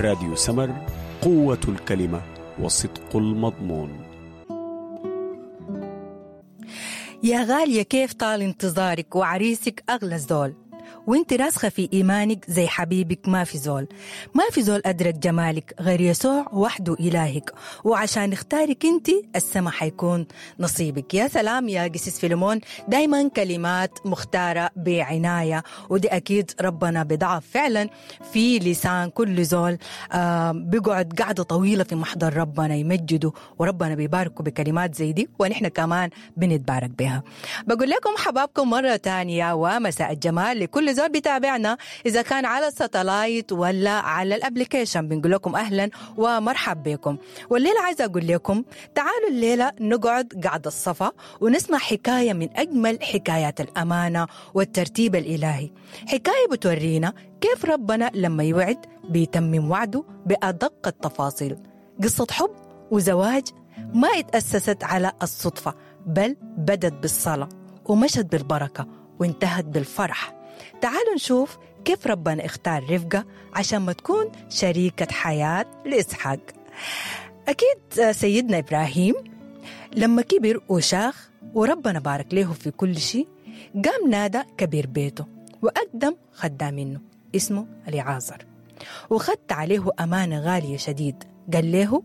راديو سمر، قوة الكلمة وصدق المضمون. يا غالية، كيف طال انتظارك وعريسك أغلى زول، وانت راسخة في إيمانك زي حبيبك ما في زول، ما في زول أدرك جمالك غير يسوع وحده إلهك، وعشان اختارك انت السما حيكون نصيبك. يا سلام يا قسيس فيلمون، دايما كلمات مختارة بعناية، ودي أكيد ربنا بضعف فعلا في لسان كل زول بيقعد قعدة طويلة في محضر ربنا يمجده، وربنا بيباركه بكلمات زي دي، ونحن كمان بنتبارك بها. بقول لكم حبابكم مرة تانية ومساء الجمال لكل زول بيتابعنا إذا كان على ال satellite ولا على ال application، بنقول لكم أهلا ومرحب بكم. والليلة عايزة أقول لكم تعالوا الليلة نقعد قعدة الصفا ونسمع حكاية من أجمل حكايات الأمانة والترتيب الإلهي، حكاية بتورينا كيف ربنا لما يوعد بيتمم وعده بأدق التفاصيل. قصة حب وزواج ما اتأسست على الصدفة، بل بدت بالصلاة ومشت بالبركة وانتهت بالفرح. تعالوا نشوف كيف ربنا اختار رفقة عشان ما تكون شريكة حياة لإسحاق. أكيد سيدنا إبراهيم لما كبر وشاخ وربنا بارك له في كل شيء، قام نادى كبير بيته وأقدم خدام منه اسمه اليعازر، وخدت عليه أمانة غالية شديد. قال له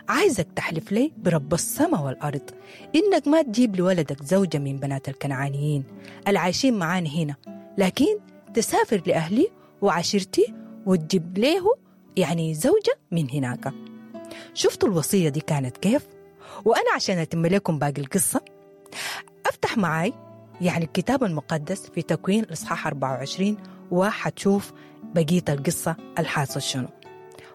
عايزك تحلف لي برب السماء والأرض إنك ما تجيب لولدك زوجة من بنات الكنعانيين العايشين معانا هنا، لكن تسافر لأهلي وعشيرتي وتجيب له يعني زوجة من هناك. شفتوا الوصية دي كانت كيف؟ وأنا عشان أتم لكم باقي القصة أفتح معاي يعني الكتاب المقدس في تكوين الإصحاح 24 وحتشوف بقية القصة الحاصل شنو.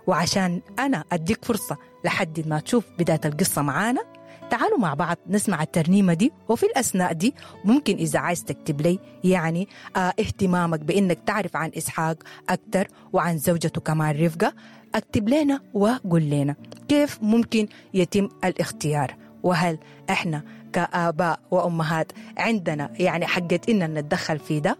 وعشان أنا أديك فرصة لحد ما تشوف بداية القصة معانا، تعالوا مع بعض نسمع الترنيمة دي، وفي الأثناء دي ممكن إذا عايز تكتب لي يعني اهتمامك بإنك تعرف عن إسحاق أكتر وعن زوجته كمان رفقة، اكتب لنا وقول لنا كيف ممكن يتم الاختيار، وهل إحنا كآباء وأمهات عندنا يعني حقة إننا نتدخل في ده،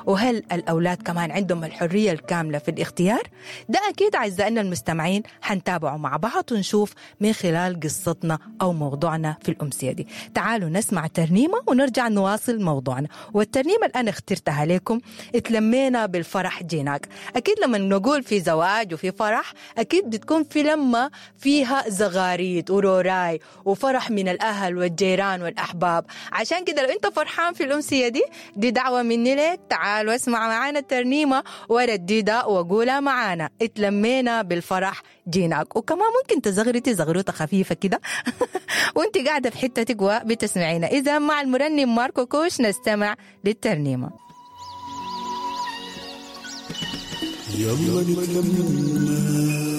وهل الأولاد كمان عندهم الحرية الكاملة في الاختيار؟ ده أكيد أعزائنا المستمعين حنتابعه مع بعض ونشوف من خلال قصتنا أو موضوعنا في الأمسية دي. تعالوا نسمع ترنيمة ونرجع نواصل موضوعنا. والترنيمة اللي أنا اخترتها لكم اتلمينا بالفرح جيناك. أكيد لما نقول في زواج وفي فرح أكيد بتكون في لمة فيها زغاريت وروراي وفرح من الأهل والجيران والأحباب. عشان كده لو أنت فرحان في الأمسية دي، دي دعوة مني لك، تعال واسمع معانا الترنيمة ورددها وقولها معانا اتلمينا بالفرح جيناك. وكمان ممكن تزغرتي زغروطة خفيفة كده وانت قاعدة في حتتك وبتسمعينا. إذا مع المرنم ماركو كوش نستمع للترنيمة. يلا نتلمنا